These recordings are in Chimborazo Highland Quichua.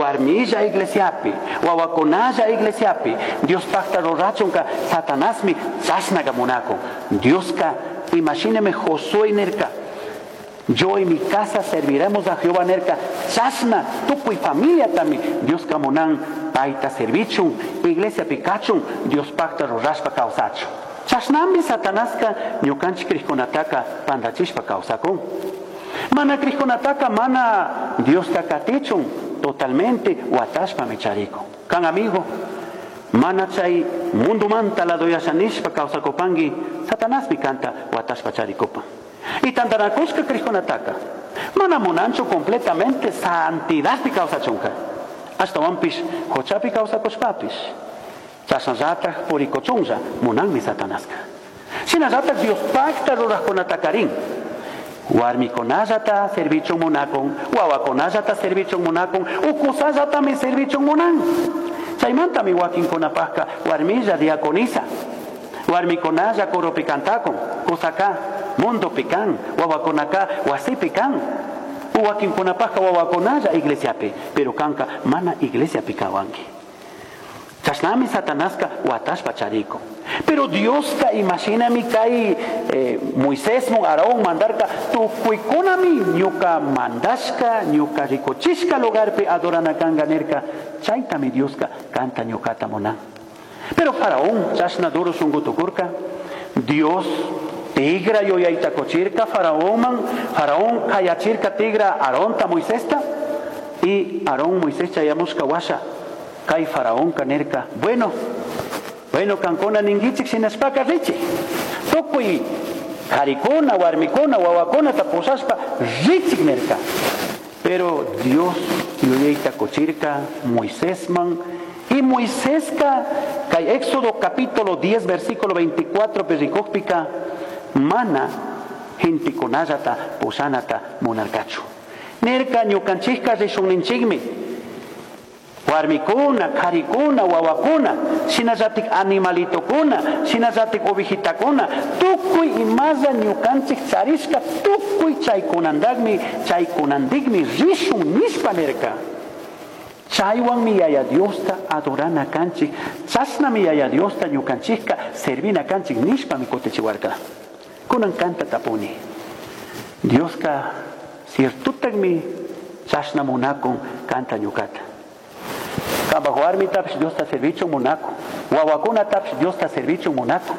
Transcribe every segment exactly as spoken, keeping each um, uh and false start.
Warmilla iglesiapi, wawakunalla iglesiapi, Diospaqta rurachunka Satanasmi chashnaqa munakun. Dioska imashinami Josué nirka, yo y mi casa serviremos a Jehová nirka, chashna tukuy familiatami Dioska munan payta servichun, iglesiapi kachun, Diospaqta rurashpa kawsachun. Chashnami Satanaska ñukanchik kriqkunataka pantachishpa kawsakun. Mana kriqkunataka mana Diosta katichun totalmente watashpami charikun. Kan amigo, mana chay mundumanta ladoyasha nishpa kawsakupanki, Satanasmi kanta watashpa charikupan. Y tantanakushka kriqkunataka mana munanchu completamente santidadpi kawsachunka. Ashtawanpish huchapi kawsakushpapish chashnallataj purikuchunlla munanmi Satanaska. Shinallataj Diospaqta rurajkunatakarin warmikunallata servichun munakun, wawakunallata servichun munakun, ukusallatami servichun munan. Chaymantami wakinkunapaqka warmilla diaconisa, warmikunalla coropi cantakun, kusaka mundopi kan, wawakunaka wasipi kan, wakinkunapaqka wawakunalla iglesiapi, pero kanka mana iglesiapi kawanki. Chashnami Satanaska watashpa charikun. Pero Dioska imashinami kay eh, Moisés mun Aarón mandarka tukuykunami ñuka mandashka ñuka rikuchishka lugarpi adorana kanga nirka, chaytami Dioska kanta ñukata munan. Pero Faraón chashna duro shunku tukurka, Dios tigra yuyayta kuchirka Faraónman, Faraón kayachirka tigra Aarónta Moisésta, y Aarón Moisés chayamushka washa kay Faraónka nirka, bueno, bueno kankuna ninkichik shinashpaka richik, tukuy karikuna, warmikuna, wawakunata pushashpa richik nirka. Pero Dios yuyayta kuchirka Moisésman, y Moiséska kay Éxodo capítulo diez versículo veinticuatro perikukpika mana gentekunallata pushanata munarkachu. Nirka ñukanchikka rishunninchikmi warmikuna, karikuna, wawakuna, shinallatik animalitokuna, shinallatik ovejitakuna, tukuy imalla ñukanchik charishka tukuy chaykunandakmi, chaykunandikmi rishun nishpa nirka. Chaywanmi Yaya Diosta adorana kanchik, chashnami Yaya Diosta ñukanchikka servina kanchik nishpami kutichiwarka. Kunan kanta tapuni. Dioska ciertutakmi chashna munakun kanta ñukata. Kamba warmitapish Diosta servichun munakun, wawakunatapish Diosta servichun munakun.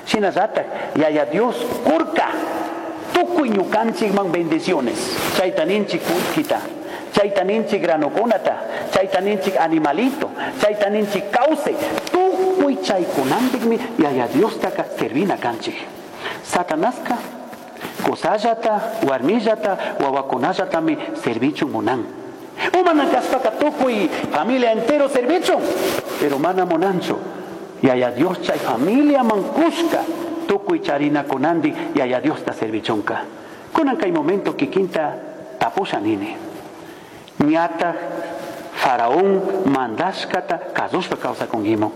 Shinallatak Yaya Dios kurka tukuy ñukanchikman bendiciones. Chayta ninchik kullkita, chayta ninchik granokunata, chayta ninchik animalito, chayta ninchik kawsay, tukuy chaykunantikmi Yaya Diostaka servina kanchik. Satanaska kusallata, warmillata, wawakunallatami servichun munan. Umana kaspaka tukuy familia entero servichun, pero mana munanchu. Yaya Dios chay familia mankushka tukuy charina kunandi Yaya Diosta servichunka. Kunan kay momento kikinta tapusha nini. Ñata Faraón mandashkata kasushpa kawsakunkimun.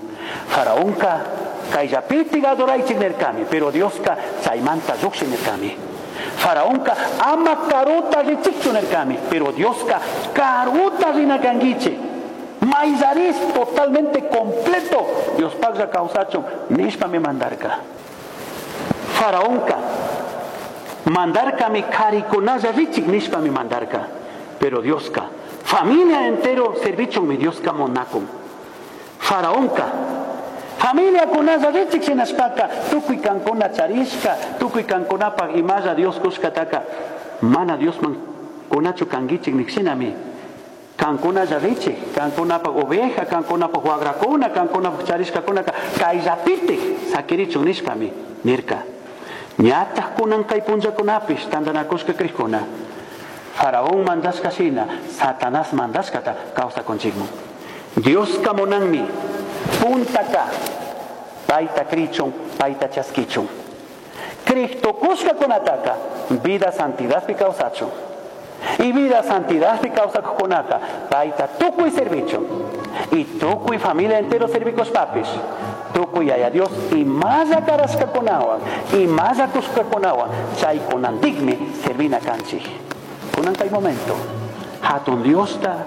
Faraónka kayllapiti adoraychik nirkami, pero Dioska chaymanta lluqshi nirkami. Faraónka ama karuta richikchu nirkami, pero Dioska karuta rinakankichik. Mayllaris totalmente completo Diospaqlla kawsachun nishpami mandarka. Faraónka mandarkami karikunalla richik nishpami mandarka, pero Dioska familia entero servichunmi Dioska munakun. Faraónka familia kunalla richik shinashpaka tukuy kankuna charishka, tukuy kankunapaq imalla Dios kushkataka mana Diosman kunachu kankichik nikshinami. Kankunalla richik, kankunapaq oveja, kankunapaq wagrakuna, kankunapaq charishkakunaka kayllapitik sakirichun nishpami nirka. Ñataq kunan kay punllakunapish tantanakushka kriqkuna Faraón mandashka shina, Satanás mandashkata kawsakunchikmun. Dioska munanmi puntaka payta krichun, payta chaskichun. Kriqtukushkakunataka vida santidadpi kawsachun. Y vida santidadpi kawsakuqkunaka payta tukuy servichun. Y tukuy familia entero servikushpapis tukuy Yaya Dios imalla karashkakunawan, imalla kushkakunawan chaykunantikmi servina kanchik. Kunan kay momento hatun Diosta